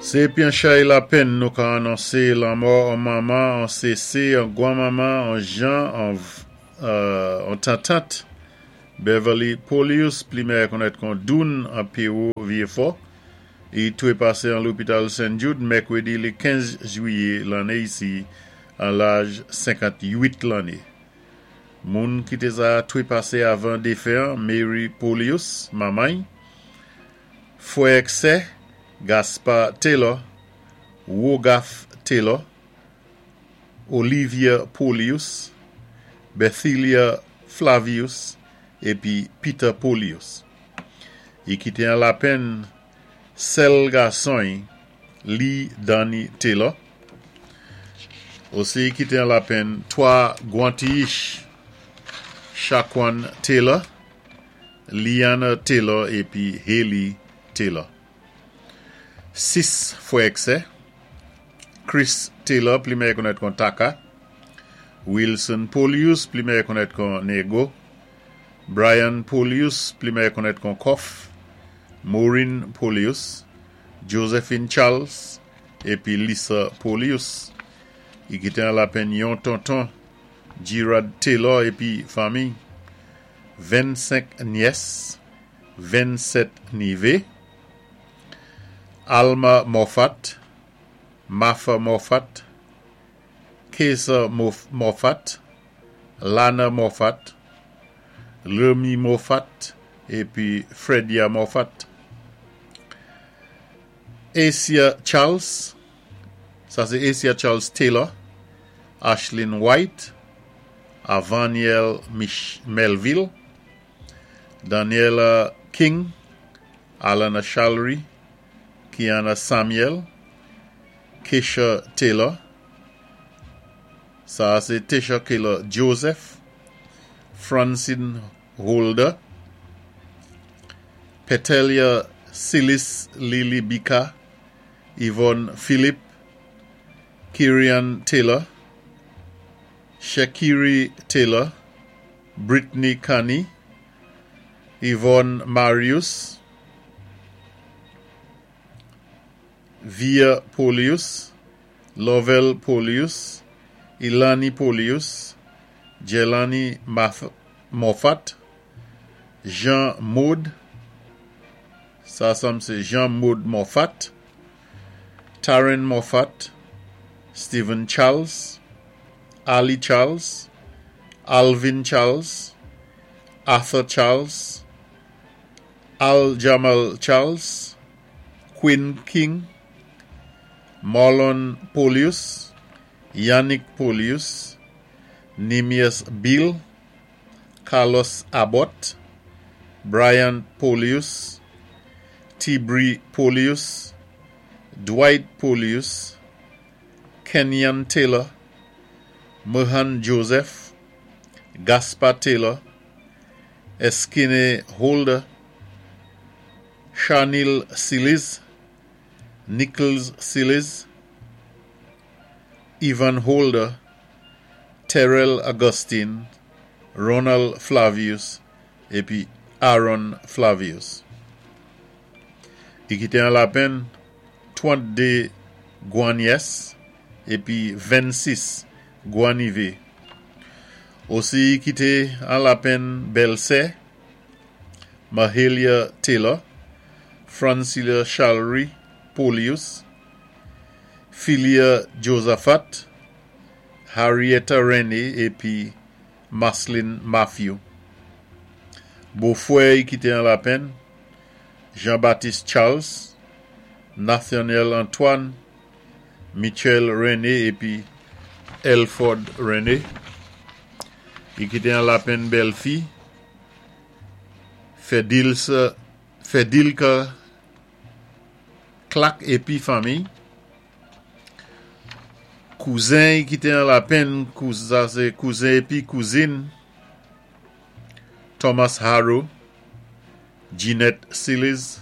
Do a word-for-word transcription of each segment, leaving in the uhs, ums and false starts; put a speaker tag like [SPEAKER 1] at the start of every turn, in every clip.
[SPEAKER 1] Sé pi an chay lapenn nou ka anonsé lanmò an manman, an sésé, an gwanmanman, an jan, an, euh, an tantant, Beverly Polius, pli mèyè konnèt kon Doun an Péwo Vyéfò. I twé pasé an lopital Saint Jude, mèkwédi lé kenz jwiyé lanné isi, an laj senkant-uit lanné. Moun ki té sa twé pasé avan défen, Mary Polius, manman, fwè èk sè, Gaspard Taylor, Wogaf Taylor, Olivia Polius, Bethilia Flavius, épi Peter Polius. I kité an lapenn sèl gason Lee Danny Taylor. Osi i kité an lapenn twa gwan-tiyich, Shaquan Taylor, Liana Taylor épi Haley Taylor. Sis fwè èk sè, Chris Taylor, pli mèyè konnèt kon Taka, Wilson Polius, pli mèyè konnèt kon Nego, Brian Polius, pli mèyè konnèt kon Koff, Maureen Polius, Josephine Charles, épi Lisa Polius. I kité an lapenn yon tonton, Gerard Taylor épi fanmi, vennsenk nyès, vennsèt nivé, Alma Moffat, Martha Moffat, Kesa Moffat, Lana Moffat, Remy Moffat, épi Fredia Moffat. Asia Charles, sa sé Asia Charles Taylor, Ashlyn White, Avaniel Mich Melville, Daniela King, Alana Chalry, Kiana Samuel, Keisha Taylor, sa sé Tisha Taylor Joseph, Francine Holder, Petelia Silis Lily Bika, Yvonne Philippe, Kirian Taylor, Shakiri Taylor, Brittany Kani, Yvonne Marius, Via Polius, Lovell Polius, Ilani Polius, Jelani Moffat, Jean Maud, sa sanm sé Jean Maud Moffat, Taryn Moffat, Stephen Charles, Ali Charles, Alvin Charles, Arthur Charles, Al Jamal Charles, Quinn King, Marlon Polius, Yannick Polius, Nemias Bill, Carlos Abbott, Brian Polius, Tibri Polius, Dwight Polius, Kenyan Taylor, Mohan Joseph, Gaspar Taylor, Eskine Holder, Shanil Silis, Nichols Silis, Ivan Holder, Terrell Augustine, Ronald Flavius, épi Aaron Flavius. I kité an lapenn trann-dé gwan-nyès épi vennsis gwan-nivé. Osi i kité an lapenn bèlsè, Mahalia Taylor, Francilia Chalry Polius, Philia Josaphat, Harrietta René épi Marceline Matthew. Bofwè i kité an lapenn, Jean-Baptiste Charles, Nathaniel Antoine, Michel René épi Elford René. I kité an lapenn bèlfi, Fedilsa, Fedilka Clark épi fanmi. Kouzen i kité an lapenn, sa sé kouzen épi kouzin, Thomas Harrow, Jeanette Silis,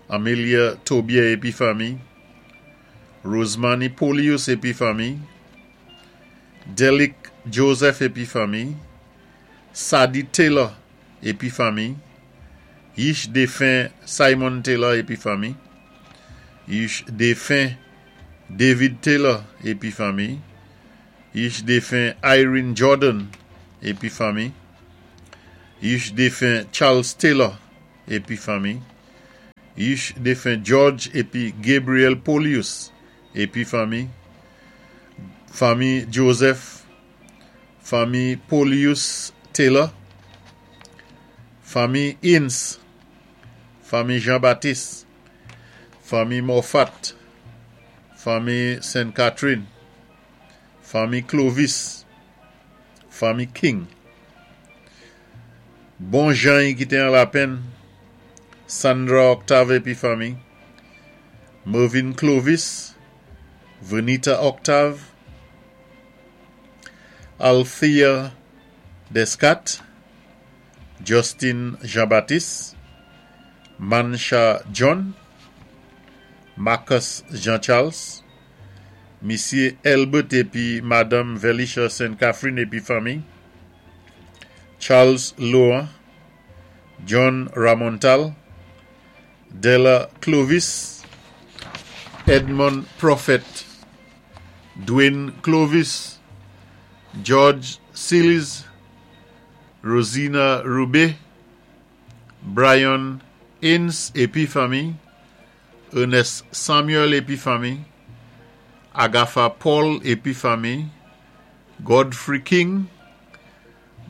[SPEAKER 1] Amelia Tobier épi fanmi, Rosemary Polius épi fanmi, Delic Joseph épi fanmi, Sadie Taylor épi fanmi, Yish défen Simon Taylor épi fanmi, Ish défen David Taylor épi fanmi. Ish défen Irene Jordan épi fanmi. Ish défen Charles Taylor épi fanmi. Ish défen George épi Gabriel Polius épi fanmi. Fanmi Joseph, fanmi Polius Taylor, fanmi Ince, fanmi Jean-Baptiste, fanmi Moffat, fanmi Saint Catherine, fanmi Clovis, fanmi King. Bon jan ki té an Lapenn, Sandra Octave épi fanmi, Mervyn Clovis, Venita Octave, Althea Descat, Justin Jean-Baptiste, Mansha John, Marcus Jean-Charles, Misyé Elbert épi Madanm Velisha Saint Catherine épi fanmi, Charles Laurent, John Ramontal, Della Clovis, Edmond Prophet, Dwayne Clovis, George Seals, Rosina Rubé, Brian Ince épi fanmi, Ernest Samuel épi fanmi, Agatha Paul épi fanmi, Godfrey King,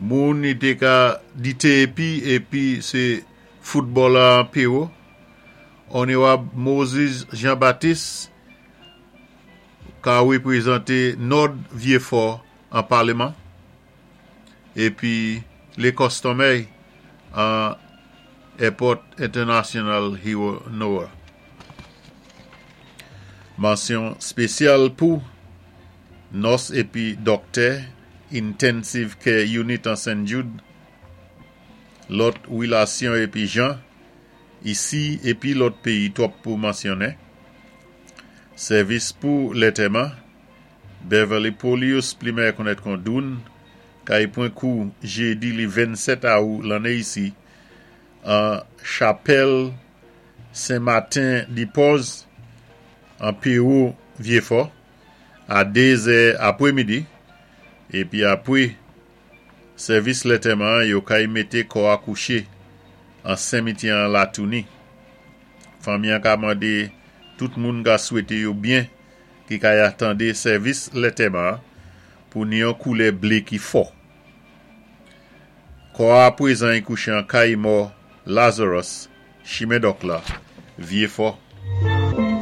[SPEAKER 1] moun i té ka di épi épi sé foutbolè Péwo, Onorab Moses Jean-Baptiste ka wépwézanté Nòd Vyéfò an palman épi lé kòstomè an Airport International Hero Noah. Mansyon spésyal pou nòs épi dòktè Intensive Care Unit an Saint Jude, lòt wilasyon épi jan, isi épi lòt péyi twòp pou mansyonnen. Sèvis pou lantèman, Beverly Polius pli mèyè konnèt kon Doun, kay pwan kou jédi li vennsèt awou lanné isi, an Chapèl Saint-Martin di Pòz, an Péwo Vyéfò, a dézè apwémidi, épi apwé sèvis lantèman yo kay mété kò a kouché an simityè an Latouni. Fanmi an ka mandé tout moun ka swété yo byen ki kay atandé sèvis lantèman pou ni yon koulè blé ki fò. Kò a pwézan i kouché an kay mò Lazarus, Chimen Dòk la, Vyéfò.